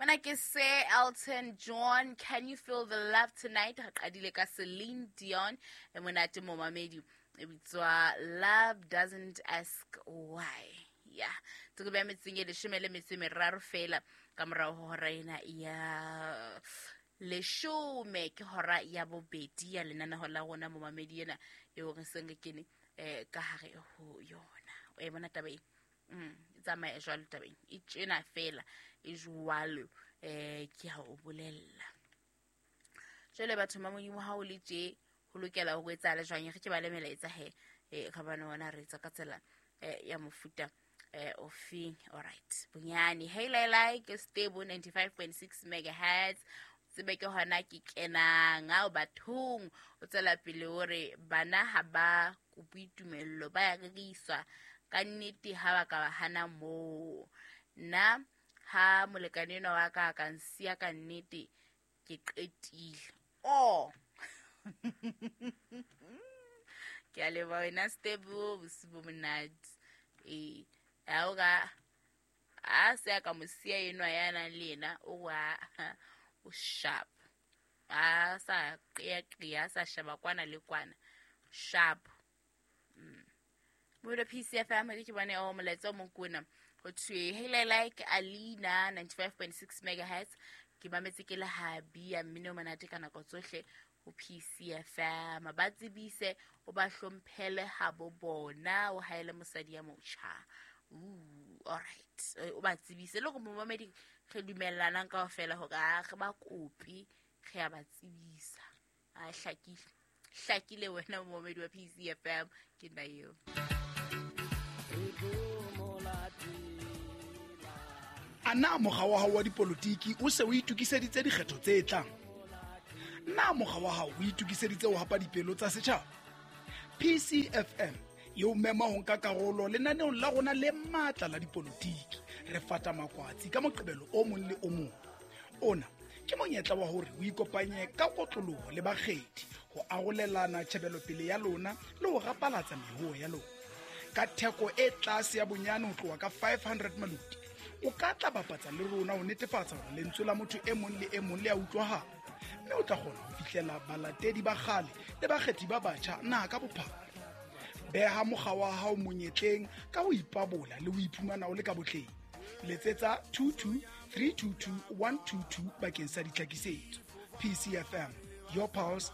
Mona ke se Elton John, "Can You Feel the Love Tonight?" Re qadile ka Celine Dion e monate, momamedi, e bitswa "Love Doesn't Ask Why". Ya tseko ya metseng e 13 fela ka morago ho hora ena ya 10, ke hora ya bobedi ya lenaneho la rona, momamedi, ena eo re seng re kene ka hare ho yona. O e bona taba e e tsamaya jwalo, tabeng e tjena fela e jwalo. Ke ha o bolella jwale, batho ba Modimo, ha o le tje ho lokela ho etsahala jwang? Re ke ba le melaetsa he, ka bana ona re etsa ka tsela ya mofuta o feng? Alright, bonyane hey lai ke Stable 95.6 megahertz, tsebe ke hona ke kenang ao bathong. O tswela pele o re bana ha ba kope tumello, ba ya reriswa ka nnete, ha ba ka ba hana moo. Nna ha molekane enwa wa ka a ka nsiya, ka nnete ke qetile. Oh, ke a leboha wena Stable, bosiu bo monate. Ee, ha o ka a se a ka mo siya enwa ya nang le yena, o wa o sharp, a sa qeaqea, a sa sheba kwana le kwana, sharp. Modo PCFM, ke bone o molaetsa o mong kona, ho thwe hey like Alina 95.6 megahertz, ke mametse ke le habi ya mmino o monate ka nako tsohle ho PCFM. Ba tsebise, o ba hlomphele ha bo bona, o haele mosadi ya motjha. Ooh, alright. O ba tsebise le gore momamedi, re dumellanang kaofela hore a re ba kope, re ya ba tsebisa. A hlakile, hlakile wena momamedi wa PCFM, ke nna eo. A na mokga wa hao wa dipolotiki o se o itokiseditse dikgetho tse tlang? Na mokga wa hao o itokiseditse ho hapa dipelo tsa setjhaba? PCFM e o mema ho nka karolo lenaneong la rona le matla la dipolotiki, Re Fata Makwatsi, ka Moqebelo o mong le o mong. Ona ke monyetla wa hore o ikopanye ka kotloloho le bakgethi ho arolelana tjhebelopele ya lona le ho rapalatsa mehoo ya lona ka theko e tlase ya bonyane ho tloha ka 500 maluti. O ka tla bapatsa le rona ho netefatsa hore lentswe la motho e mong le e mong le a utlwahala, mme o tla kgona ho fihlela balatedi ba kgale le bakgethi ba batjha naha ka bophara. Beha mokga wa hao monyetleng ka ho ipabola le ho iphumana o le ka botleng. Letsetsa 22 322 122 bakeng sa ditlhakisetso. PCFM, your pulse.